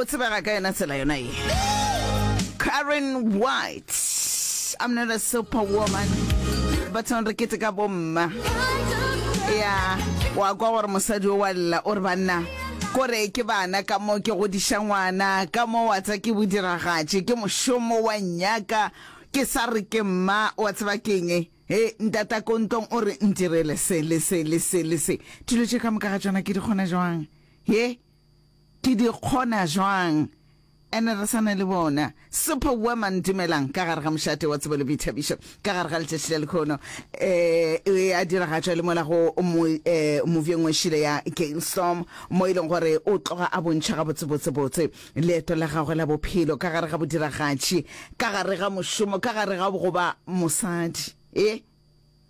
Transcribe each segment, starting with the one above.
tsebega ka yona tsela yona ye. Karen White, I'm not a superwoman. Bathong re kete ka bomma. Ya, wa kwa gore mosadi o wa lla o re banna kore ke bana ka mo ke godiša ngwana ka mo wa tsa ke bodiragatše ke mošomo wa nyaka ke sa re ke mma wa tseba keng he ntata ko ntlong o re ntirele se le se le se le se dilo tše ka moka ga tšona ke di kgona jwang he Ke di kgona jwang? Ene re sa na le bona. Superwoman, dumelang ka gare ga mošate wa tsebo le boithabišo ka gare ga letšatši la lekhono. Eh, e a diragatšwa le mola go mo, eh, movie e nngwe šile ya Gainstorm, mo e leng gore o tloga a bontšha gabotsebotsebotse leeto la gagwe la bophelo ka gare ga bodiragatši, ka gare ga mošomo, ka gare ga go ba mosadi. E,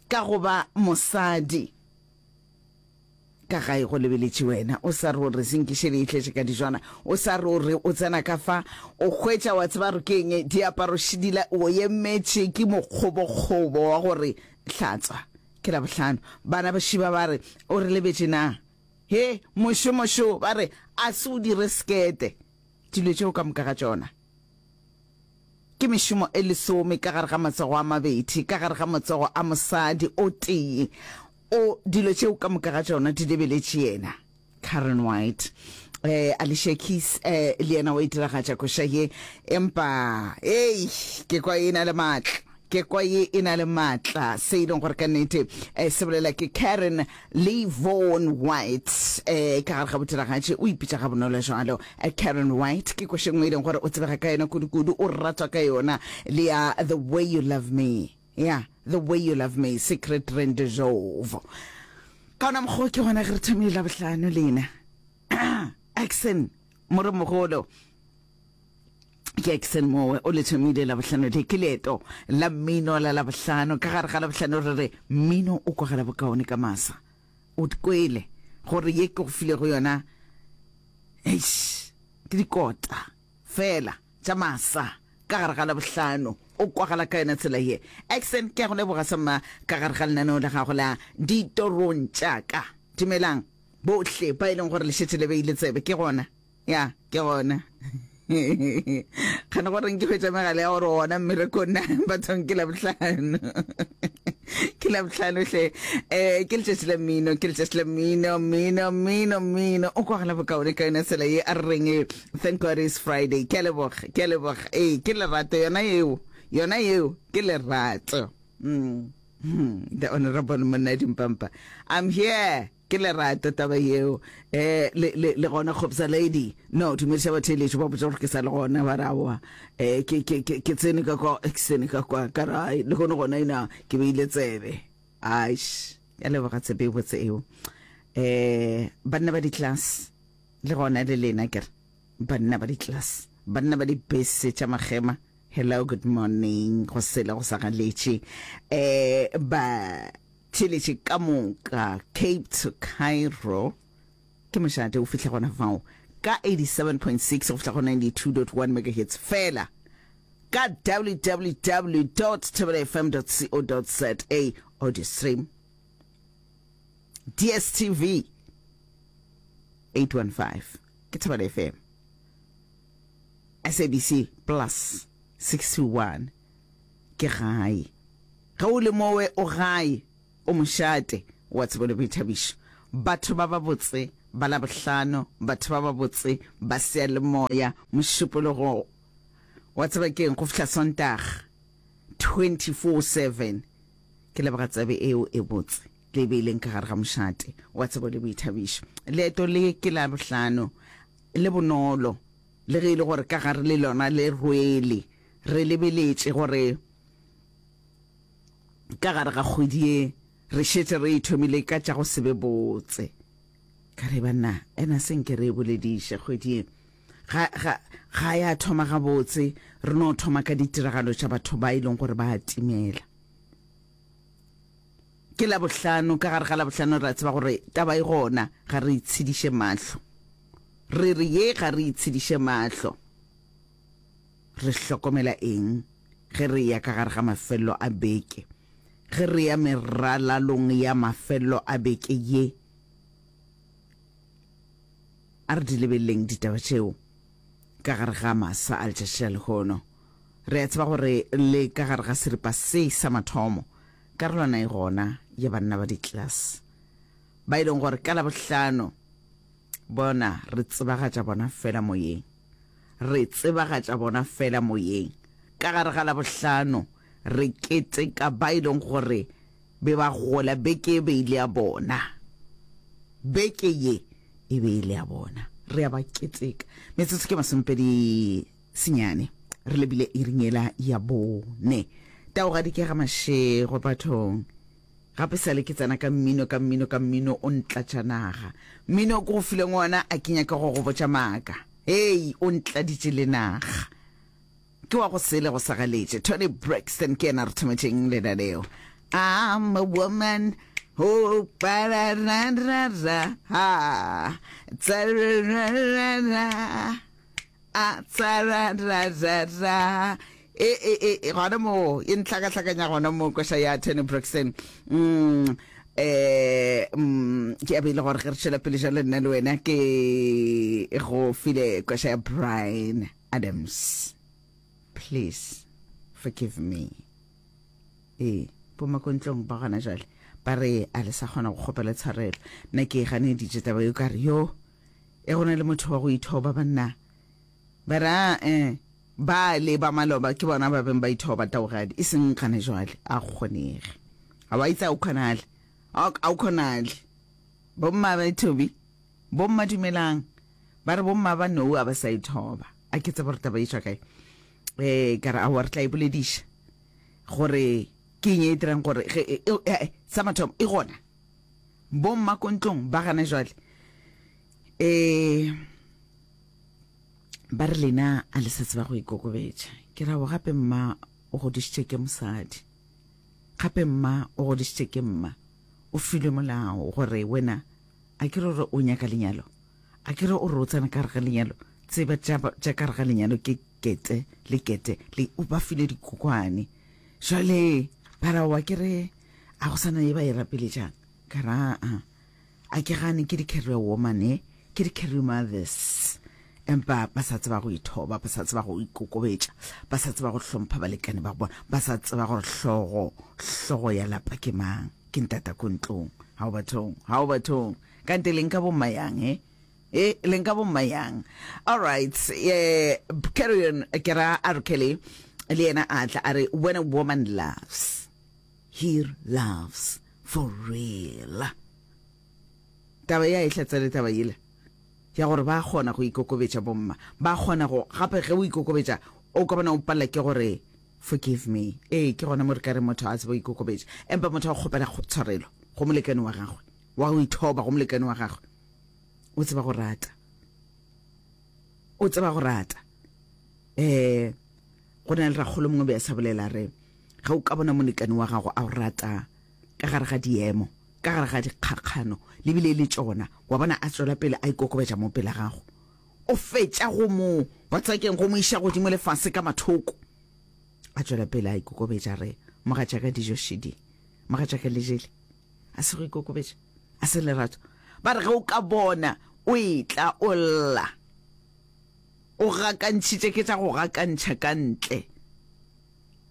ka go ba mosadi. Ka gae go lebeletše wena, o sa re o re senkiše le itletše ka dijwana, o sa re o re o tsena ka fa, o hwetša wa tseba gore ke eng, diaparo šidila, o emetše ke mokgobokgobo wa gore hlatswa. Ke Labohlano. Bana ba šiba ba re, O re lebetše na? He, mošomo šo, ba re, a se o dire sekete. Dilo tšeo ka moka ga tšona. Ke mešomo e lesome ka gare ga matsogo a mabedi, ka gare ga matsogo a mosadi o tee. O, dilo tšeo ka moka ga tšona di lebeletše yena. Karen White. Eh, Alicia Keys, eh, le yena o e diragatša koša ye. Empa, hei, ke kwa e na le maatla. Ke kwa ye e na le maatla. Se e leng gore ka nnete, eh, se bolela ke Karen le Vaughn White. Eh, ka gare ga bodiragatši, o ipitša gabonolo jwalo. Eh, Karen White, ke koša e nngwe e leng gore o tsebega ka yona kudu-kudu, o ratwa ka yona, le ya The Way You Love Me. Ya, The Way You Love Me, Secret Rendezvous. Ka ona mokgwa ke gona ge re thomile Labohlano lena. Action, moremogolo. Ke Action mowe o le thomile Labohlano le ke leeto la mmino la Labohlano. Ka gare ga Labohlano re re mmino o kwagala bokaone ka masa. O kwele gore ye ke go filego yona eish ke dikota fela. Tša masa ka gare ga Labohlano o kwagala ka yona tsela ye. Accent, ke a go leboga samma ka gare ga lenaneo la gago la Ditorong tša ka. Dumelang bohle ba e leng gore le šetše le beile tsebe. Ke gona. Ya, ke gona. Kgane goreng ke hwetša megala ya gore gona mmerekong na bathong ke Labohlano. Ke Labohlano hle. Eh, ke letšatši la mmino, ke letšatši la mmino, mmino, mmino, mmino. O kwagala bokaone ka yona tsela ye a re reng Thank God it's Friday. Ke a leboga, ke a leboga. Ee, ke lerato yona yeo. Yona yeo ke lerato. Mm. Hmm. The Honorable Monna Dimpampa. I'm here. Ke lerato taba yeo. Eh le le le gona Khopsa lady. No, dumediša batheeletši ba botša gore ke sa le gona ba re aowa. Eh ke ke ke ke tsene ka kwa, ke tsene ka kwa ka ra le gone gona ina ke beile tsebe. Aish. Ya leboga tsebe e botse eo. Eh banna ba di-class. Le gona le lena ke re banna ba di-class, banna ba dibese tša makgema, hello, good morning, go sele go sa galetše. Eh, ba theletše ka moka Cape to Cairo ke mošate o fihla gona fao ka 87.6 go fihla go 92.1 megahertz fela ka www.thobelafm.co.za audio stream. DSTV 815 ke Thobela FM, SABC Plus 621 ke gae. Ge o le mowe o gae, o mošate wa tsebo le boithabišo. Batho ba babotse ba Labohlano, batho ba babotse ba seyalemoya, Mošupologo wa tseba keng go fihla Sontaga 24/7. Ke leboga tsebe eo e botse le e beileng ka gare ga mošate wa tsebo le boithabišo. Leeto le ke la bohlano le bonolo, le ge e le gore ka gare le lona le rwele. Re lebeletše gore ka gare ga kgwedi ye re šetše re e thomile ka tša go se be botse. Ka re, Banna, ena se nke re e bolediše kgwedi ye. Ga, ga, ga ya thoma gabotse, re no thoma ka ditiragalo tša batho ba e leng gore ba a timela. Ke Labohlano, ka gare ga Labohlano re a tseba gore taba e gona, ga re itshediše mahlo. Re re ye ga re itshediše mahlo. Re hlokomela eng ge re eya ka gare ga mafelelo a beke? Ge re ya meralalong ya mafelelo a beke ye, a re di lebeleleng ditaba tšeo. ka gare ga masa a letšatši la lehono. Re a tseba gore le ka gare ga seripa se sa mathomo, karolwana e gona ya banna ba di-class ba e leng gore ka Labohlano bona re tsebagatša bona fela moyeng. Re tsebagatša bona fela moyeng. Ka gare ga Labohlano re keteka ba e leng gore be ba gola beke e be e le ya bona. Beke ye e be e le ya bona. Re a ba keteka. Metsotso ke masomepedi senyane re lebile iring yela ya bone. Taogadi ke ga Mashego bathong. Gape sale ke tsena ka mmino ka mmino ka mmino o ntlatša naga. Mmino o ke go fileng wona a ke nyake go go botša maaka. Hei o ntladitše le naga. Ke wa go sele go sagaletše. Toni Braxton ke yena a re thometšeng lenaneo. I'm a woman who ba ra ra ra ra ha tsa ra ra ra ra a tsa ra ra ra ra e e e e gona mo e ntlhakahlakanya gona mo koša ya Toni Braxton. Mm eh mm ke a be le gore ge re tšwela pele jalo nna le wena ke go file koša ya Bryan Adams. Please forgive me. Ee, bomakontlong ba gona jwale ba re a le sa kgona go kgopela tshwarelo. Nna ke e ganeditše taba yo ka re yo e go na le motho wa go ithoba banna. Ba re a eh ba le ba maloba ke bona ba beng ba ithoba taogadi e seng gana jwale a go kgonege. A wa itse a o kgonale. A o kgonale. Bomma ba Thobi, bomma dumelang. Ba re bomma ba nou a ba sa ithoba. A ke tsebe gore taba e tšwa kae. Eh ka re aowa re tla e bolediša. Gore ke eng e dirang gore ge e, e, e, sa mathomo e gona. Bomma ko ntlong ba gana jwale. Eh ba re lena a le sa tseba go ikokobetša. Ke ra go gape mma o godišitše ke mosadi. Gape mma o godišitše ke mma. O filwe molao gore wena a ke re gore o nyaka lenyalo. A ke re o re o tsena ka gare ga lenyalo. Tseba tša tša ka gare ga lenyalo ke kete le kete le o ba file dikokwane. Jwale ba ra wa ke re a go sana ye ba e rapeletšang. Ka ra a a ke gane ke di-career woman eh, ke di-career mothers. Empa ba sa tseba go ithoba, ba sa tseba go ikokobetša, ba sa tseba go hlompha balekane ba bona, ba sa tseba gore hlogo hlogo ya lapa ke mang. Ke ntata ko ntlong. Hao bathong, hao bathong. Kante le nka bomma yang eh? E, le nka bomma yang? All right, eh, carry on, ke ra R. Kelly, le yena a tla a re, when a woman loves, he loves for real. Taba ya e hlatsele taba yela ya gore ba kgona go ikokobetša bomma, ba kgona go, gape ge o ikokobetša o ka bona o palela ke gore forgive me. Ee, ke gona mo re ka re motho a tsebe go ikokobetša, empa motho a kgopela tshwarelo go molekane wa gagwe, wa go ithoba go molekane wa gagwe. O tseba go rata. O tseba go rata. Eh, go na le rakgolo mongwe be a sa bolela re, ge o ka bona molekane wa gago a o rata ka gare ga diemo, ka gare ga dikgakgano, le bile e le tšona, wa bona a tšwela pele a ikokobetša mo pela gago. O fetša go mo, wa tseba ke'ng, go mo iša godimo le fase ka mathoko. A tšwela pele a ikokobetša re, mogatšaka dijo šidi, mogatšaka le jele. A se go ikokobetša, a se lerato. Ba re ge o ka bona o etla o lla, o gakantšhitše ke tša go gakantšha ka ntle.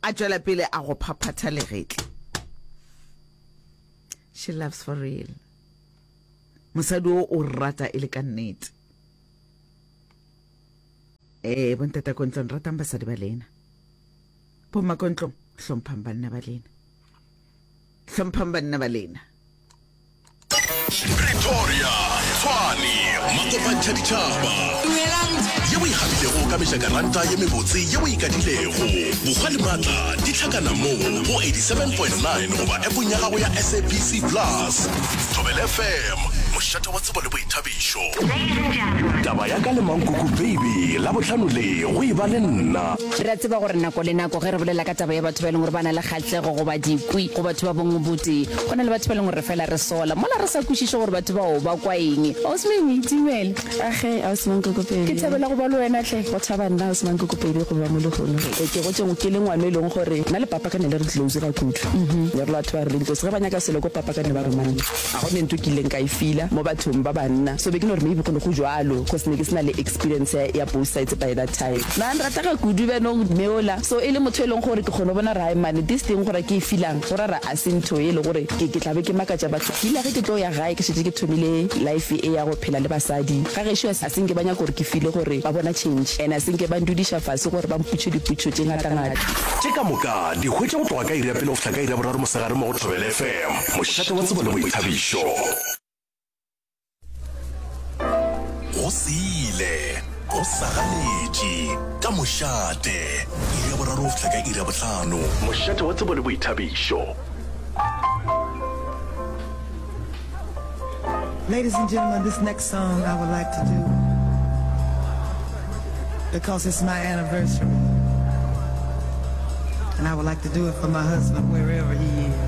A tšwela pele a go phaphatha legetla. She loves for real. Mosadi o o rata e le ka nnete. Ee, bontata ko ntlong ratang basadi ba lena. Bomma ko ntlong hlomphang banna ba lena. Hlomphang banna ba lena. Pretoria, Tshwane, makopantšha ditšhaba. Dumelang. Ye o e gabilego ka mejakaranta ye mebotse ye o e kadilego. Bokgwa le maatla di hlakana mo go 87.9 goba appong ya gago ya SABC Plus. Thobela FM, mošate wa tsebo le boithabišo. Taba ya ka le Mankoko Baby, Labohlano le go e ba le nna. Re a tseba gore nako le nako ge re bolela ka taba ya batho ba e leng gore ba na le kgahlego goba dikwi go batho ba bongwe botee, go na le batho ba e leng gore re fela re sola mola re sa kwešiše gore batho bao ba kwa eng. Ausi Mengwe, itumele. Age, Ausi Mankoko Pedi. Ke thabela go ba le wena hle. Go thaba nna, Ausi Mankoko Pedi, go ba mo lehono. Ke gotše ke le ngwana e leng gore nna le papa ka ne le re close ga kudu. Ne re le batho ba re leng close. Ge ba nyaka selo ko papa ka ne ba roma nna. Ga go ne ntho ke ileng ka e feela mo bathong ba banna. So be ke no re maybe go ne go jwalo. Cause ne ke se na le experience ya, ya both sides by that time. Na nrata ga kudu bjanong mme ola. So e le motho e leng gore ke kgona go bona gore hai mane this thing gore ke e feelang go ra re a se ntho e le gore ke, ke tla be ke makatša batho. Ke ile ge ke tlo ya gae ke šetše ke thomile life e ya go phela le basadi. Ga gešo a se nke ba nyaka gore ke feele gore ba bona change and a se nke ba ndudiša fase gore ba mpotše dipotšo tše ngatangata. Tše ka moka di hwetše go tloga ka iri ya pele go fihla ka iri ya boraro mosegare mo go Thobela FM, mošate wa tsebo le boithabišo. Go sele, go sagaletše, ka mošate, iri ya boraro go fihla ka iri ya bohlano. Mošate wa tsebo le boithabišo. Ladies and gentlemen, this next song I would like to do because it's my anniversary. And I would like to do it for my husband wherever he is.